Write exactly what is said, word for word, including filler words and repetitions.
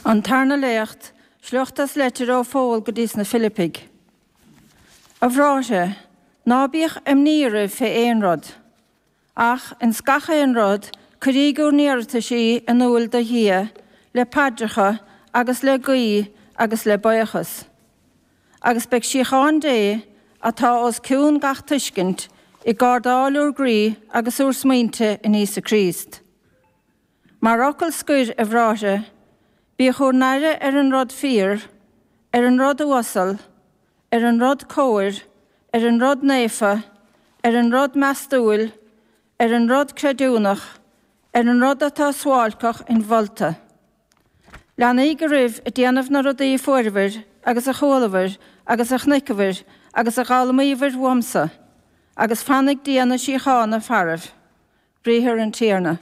An Tarna Léacht, sliocht as leitir ó Phól go dtí sna Filipigh. A bhráithre, ná bíodh imní oraibh fé aon rud. Ach ins gach aon rud, cuiríg úr n-iarrataisí in úil do Dhia, le paidreacha agus le guí agus le buíochas. Agus beidh síocháin Dé, atá os cionn gach tuiscint, ag gardáil úr gcroí agus úr smaointe in Íosa Críost. Mar fhocal scoir, a bhráithre, bíodh úr n-aire ar an rud fíor, ar an rud uasal, ar an rud cóir, ar an rud naofa, ar an rud meastúil, ar an rud creidiúnach, ar an rud atá suáilceach inmholta. Leanaíg oraibh ag déanamh na rudaí a fuaireabhair agus a chualabhair agus a chonaiceabhair agus a d'fhoghlaimíobhair uaimse, agus fanfaidh Dia na síochána faraibh. Briathar an Tiarna.